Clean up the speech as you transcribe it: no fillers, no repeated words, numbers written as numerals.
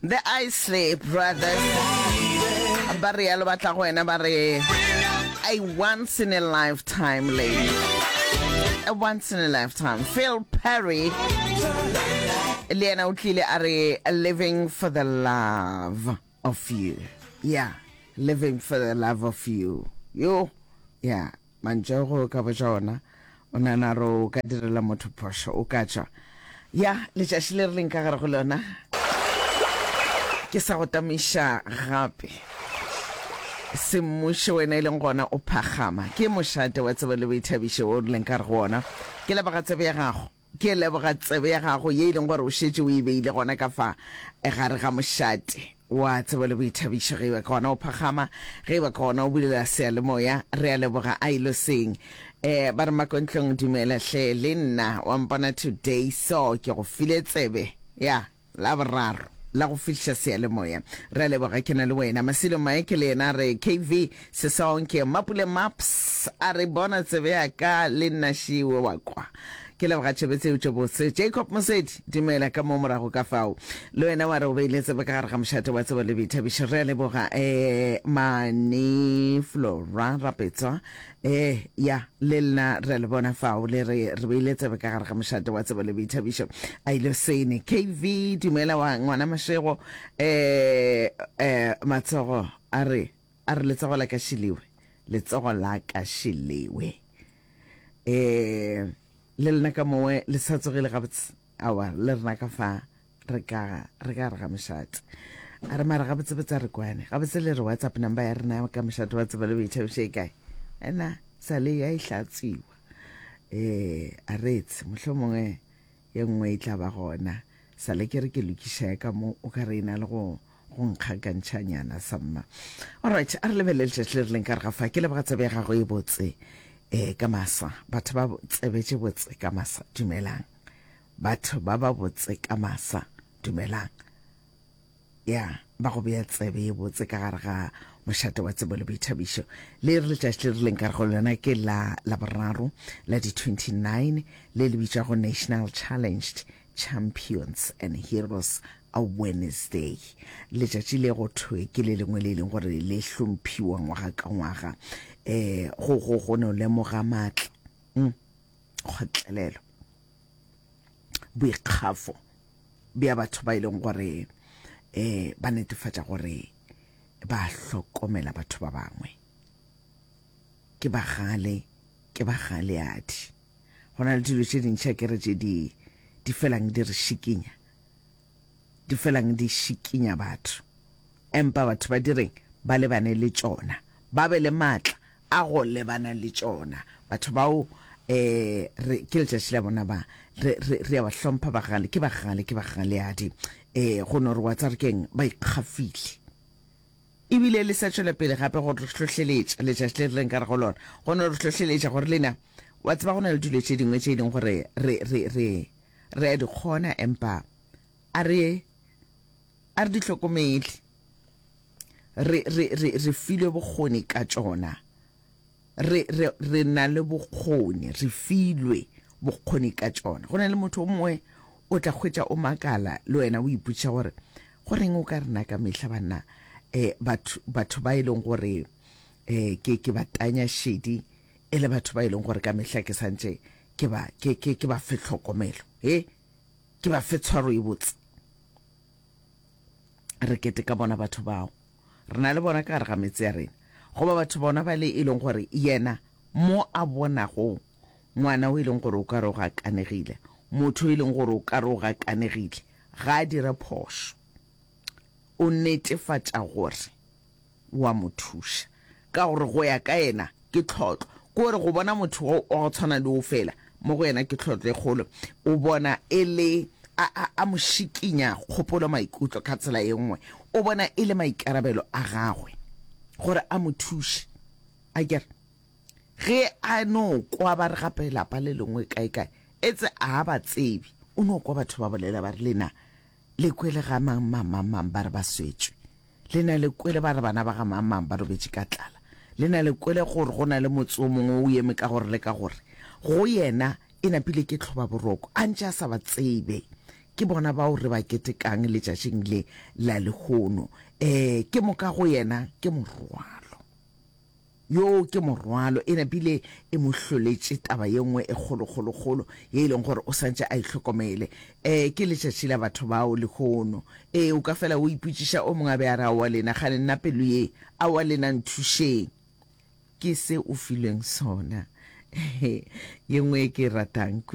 The Isley Brothers ba realo ba tla go wena ba re a once in a lifetime lady a once in a lifetime Phil Perry le yena o tlile a re living for the love of you yeah living for the love of you yo yeah Mantšu ao ge o ka botša ona, o nagana gore o ka direla motho phošo, o ka tšwa. Ya, letšatši le re leng ka gare go lona, ke sa go tamiša gape. Semmušo wena e leng gona o phakgama. Ke mošate wa tsebo le boithabišo wo re leng ka gare go ona. Ke leboga tsebo ya gago. Ke leboga tsebe ya gago ye e leng gore o šetše o e beile gona ka fa gare ga mošate wa tsebo le boithabišo. Ge e ba ke gona o phakgama, ge e ba ke gona o bulela seyalemoya, re a leboga. A ilo seng. Eh, ba re Makontlong dumela hle le nna wa mpona today so ke go file tsebe ya. La boraro la go fihliša seyalemoya. Re a leboga ke na le wena. Masilo Mike le yena a re KV Sesonke Mapule Maps a re bona tsebe ya ka le nna šiwe wa kwa. Ke leboga tšebe tseo tše botse. Jacob Mosedi dumela ka mo morago ka fao. Le wena wa re o beile tsebe ka gare ga mošate wa tsebo le boithabišo. Re a leboga eh Mane Flora Rapetswa Ee, ya, le lena re a le bona fao, le re, re beile tsebe ka gare ga mošate wa tsebo le boithabišo. A ile sene. KV, dumela wa ngwana Mashego. Eh, eh, matsogo, a re, a re letsogo la ka šiliwe. Letsogo la ka šiliwe. Eh, le lena ka mowe le sa tsogile gabotse. Aowa, le rena ka fa re ka re ka re ga mošate. A re mara gabotsebotse a re kwane. Gabotse le re WhatsApp number ya rena ka mošate wa tsebo le boithabišo e kae? Ena sa le ya e hlatswiwa. Eh, a re etse mohlomongwe ye nngwe e tla ba gona. Sa le ke re ke lokiša ya ka mo o ka re e na le go go nkgakantšhanyana samma. Alright, a re lebelele letšatši le re leng ka re ga fa. Ke leboga tsebe ya gago e botse eh ka masa. Batho ba tsebe tše botse ka masa. Dumelang. Batho ba ba botse ka masa, dumelang. Ya, ba go bea tsebe ye botse ka gare ga mošate wa tsebo le boithabišo. Le re letšatši le re leng ka re go lona ke la Laboraro la di 29 le le bitšwago National Challenged Champions and Heroes Awareness Day. Letšatši le go thwe ke le lengwe le e leng gore le hlomphiwa ngwaga ka ngwaga um go go go no lemoga maatla mm, kgotlelelo boikgafo bja batho ba e leng gore um ba netefatša gore ba hlokomela batho ba bangwe. Ke bagale, ke bagaleadi. Go na le dilo tše dintši akere tše di di felang di re šikinya, di felang di šikinya batho. Empa batho ba direng? Ba lebane le tšona, ba be le maatla a go lebana le tšona. Batho bao eh re ke letšatši la bona ba re re re a ba hlompha bagale ke bagale ke bagaleadi eh go no re wa tsare keng ba ikgafile ebile le sa tšwela pele gape go re hlohleletša letšatši le re leng ka re go lona go no re hlohleletša gore lena wa tseba go na le dilo tše dingwe tše e leng gore re re re re a di kgona empa a re a re di hlokomele Re, re, re, re filwe bokgoni ka tšona. Re, re, re na le bokgoni, re filwe bokgoni ka tšona. Go na le motho o mongwe o tla hwetša o makala le wena o ipotšiša gore go reng o ka rena ka mehla banna eh, batho, batho ba e leng gore eh, ke, ke ba tanya šedi e le batho ba e leng gore ka mehla ke santše ke ba, ke, ke, ke ba fe tlhokomelo, he, ke ba fe tshwaro e botse. Re keteka bona batho bao. Re na le bona ka gare ga metse ya rena. Goba batho bona ba le e leng gore yena mo a bonago ngwana o e leng gore o ka re o gakanegile, motho e leng gore o ka re o gakanegile, ga a dire phošo. O netefatša gore wa mo thuša. Ka gore go ya ka yena ke tlhotlo. Ke gore go bona motho wa go tshwana le wo fela, mo go yena ke tlhotlo e kgolo. O bona e le a, a, a mo šikinya kgopolo maikutlo ka tsela ye nngwe. O bona e le maikarabelo a gagwe gore a mo thuše. Akere ge a no kwa ba re gape lapa le lengwe kae-kae, etse a ba tsebe, o no kwa batho ba bolela ba re lena le kwele ga mang, mang, mang, mang ba re ba swetšwe. Le na le kwele ba re bana ba ga mang-mang ba robetše ka tlala. Le na le kwele gore go na le motse o mongwe o eme ka gore le ka gore. Go yena e napile ke tlhobaboroko, a ntše a sa ba tsebe. Ke bona bao re ba ketekang letšatšing le la lehono. Um ke moka go yena ke morwalo. Yoo ke morwalo, e napile e mo hloletše taba ye nngwe e kgolokgolokgolo ye e leng gore o santše a e hlokomele. Um ke letšatši la batho bao lehono. Ee, o ka fela o ipotšiša, o mongwe a be a re, Aowa lena, kgane nna pelo ye, aowa lena nthušeng. Ke se o filweng sona. Ye nngwe ye ke e ratang kudu.